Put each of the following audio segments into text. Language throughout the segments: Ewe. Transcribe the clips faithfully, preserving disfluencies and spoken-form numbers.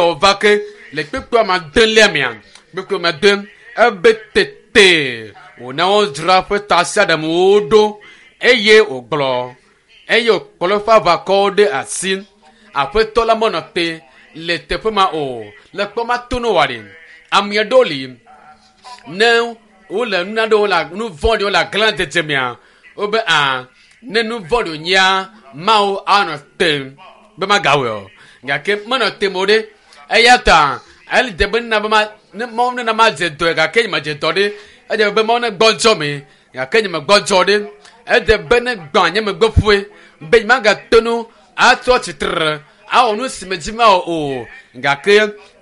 Wòva ke le kpekpe ma de mea kpekpe ma de ebe tete wòna wodzra ƒe tasiaɖamwo ɖo eye wògblɔ eye wòkplɔ eƒe aʋakɔwo ɖe asi. Aƒetɔ la menɔ te le teƒe ma o le kpɔ ma to no wa ɖe ame aɖewo li ne wole nuna ɖewo le nu vɔ̃ɖiwo le aglã dzedze mea wobe a ne nu vɔ̃ɖi wònyea mawo anɔ te be magawɔe o gake menɔ te mo ɖe eya ta ele dze be nena be ma ne mawu nena madze dɔe gake nye medze dɔ ɖe edze be mawu ne gbɔdzɔ me gake nye megbɔdzɔ ɖe edze be ne gbã nye megbe ƒoe be nye magate nu atrɔ tsitre awɔ nu si me dzi mawɔ o gake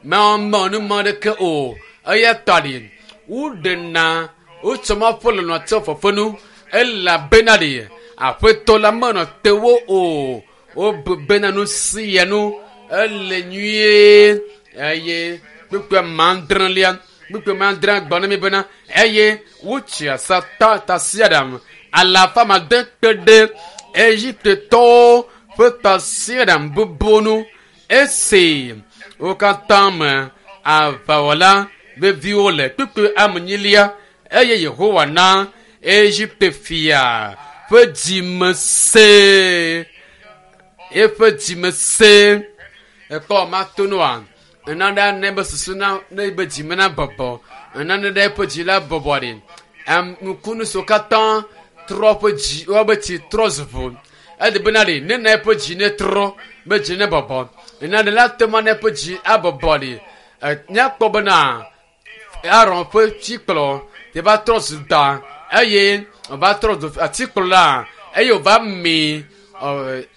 mewɔ mewɔ nu ma ɖeke o eya ta ɖi woɖena wotsɔ ma ƒe lɔlɔ tsɔ fefenu elabena ɖi aƒetɔ la menɔ te wo o wobu bena nu sia nu ele nyuie eye kpekpe mandrelia kpekpe mandre gbɔ na mi bena eye wotsi asa ta tasiaɖam alafa made kpe ɖe Egiptetɔwo ƒe tasiaɖam bubuwo nu esi wo katã me aʋawɔla veviwo le kpekpe amenyilia eye Yehowa na Egipte fia ƒe dzime se eƒe dzime se ekpɔ matonoa nane ne be susu na ne be dzime na bɔbɔ nane ɖe eƒe dzi la bɔbɔ ɖi am nukunu siwo katã trɔ ƒe dzi wobe tsi trɔ zu ʋu edi bena ɖi ne na eƒe dzi ne trɔ be dzi ne bɔbɔ nane la te ma ne eƒe dzi abɔbɔ ɖi míakpɔ bena Aron ƒe tsikplɔ te va trɔ zu da eye wòva trɔ zu atikplɔ la eye wòva mi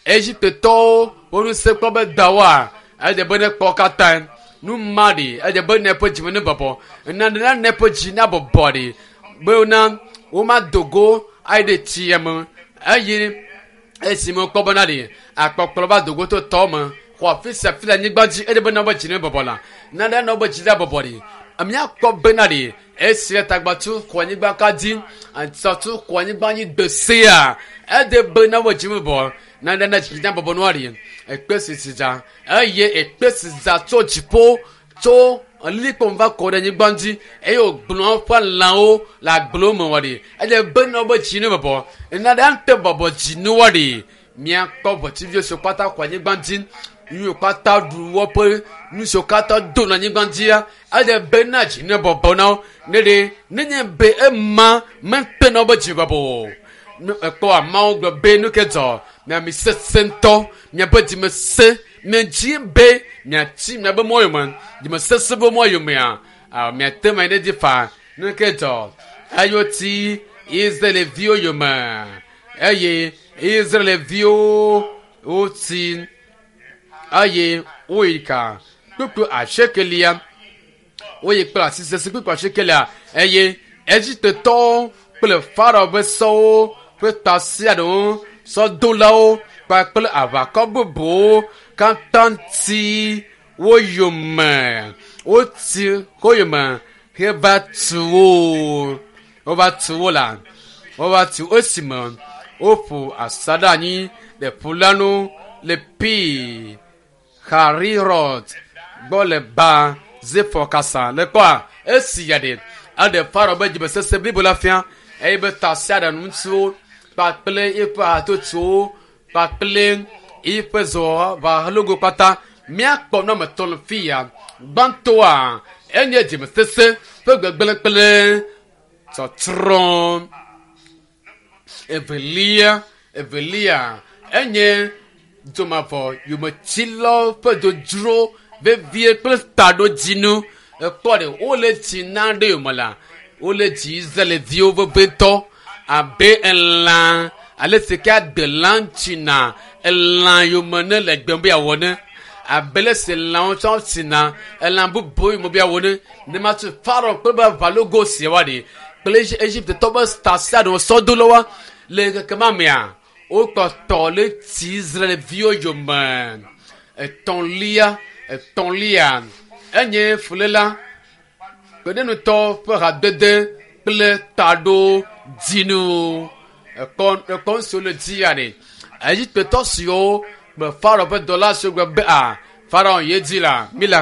Egiptetɔwo wo ŋusẽ kpɔ be dawoa edze be ne kpɔ katã nu ma ɖi edze be ne eƒe dzime ne bɔbɔ nane la ne eƒe dzi na bɔbɔ ɖi be na womado go ayi ɖe tsia me eye esime wokpɔ bena ɖi akpɔkplɔ va do go to tɔ me xɔ afi sia afi le anyigba dzi eye be na wobe dzi ne bɔbɔ la nane na wobe dzi la bɔbɔ ɖi míakpɔ bena ɖi esi tagbatu xɔ anyigba ka dzi atsatu xɔ anyigba dzi gbe sia ede be na wobe dzi me bɔbɔ nane na dzi na bɔbɔ nua ɖi ekpe sisi dza eye ekpe si dza tso dziƒo tso lilikpo va kɔ ɖe anyigba dzi eye wògblɔ eƒe lãwo le agblewo me wɔ ɖi eye be na wobe dzi ne bɔbɔ nane ate bɔbɔ dzi ne wɔ ɖi míakpɔ ʋɔtsiviwo siwo katã xɔ anyigba dzi nu katã ɖu woƒe nu siwo katã do le anyigba dzia eye be na dzi ne bɔbɔ na wo ne ɖe nenye be ema mete na wobe dzi bɔbɔ o ekpɔ ameawo gblɔ be nu ke dzɔ miami sese ŋutɔ miaƒe dzime se miadzi be miatsi miabe mɔ yome dzime sese be mɔ yomea miate ma ɖe dzi fa nu ke dzɔ eye wotsi Israelviwo yome eye Israelviwo wotsi eye woyi ka kpukpu asiekelia woyi kple asi sese kpukpu asiekelia eye Egiptetɔwo kple Farao ƒe sɔwo ƒe tasiaɖewo sɔdolawo kpakple aʋakɔ bubuwo katã ti wo yome woti wo yome heva tu wo wova tu wo la wova tu esime woƒo asaɖa anyi le ƒu la nu le pi Harirot gbɔ le ba Zefɔ kasa le kpɔa esi ya ɖe eɖe Farao be dzimesese blibo la fia eye be tasiaɖam ŋutsuwo kpakple eƒe hatsotsowo kpakple eƒe zɔʋalogo kpata míakpɔ nu ame etɔ̃ le fi ya gbãtɔa enye dzimesese ƒe gbegblẽ kple tsɔtsrɔ̃ evelia evelia enye dzomavɔ yometsilawo ƒe dzodzro vevie kple taɖodzinu ekpɔ ɖe wole tsi na ɖe yome la wole dzi Israelviwo vevitɔ abe elã ale si ke adelã tsina elã yome ne le gbem be yeawɔ ne abe le si lãwo tsɔ tsina elã bubu yome be yeawɔ ne ne ma tso Farao kple be aʋalogo sia wa ɖi kple Egiptetɔ be tasiaɖewo sɔdolawoa le keke ma mea wokpɔtɔ le tsi Israelviwo yome etɔ̃lia etɔ̃lia enye fuléla kpeɖenutɔ ƒe hadede kple taɖodzinu ekpɔ ekpɔ nu siwo le dzi ya ɖe Egiptetɔ siwo kple Farao ƒe dɔla siwo gblɔ be a Farao ye dzi la mi le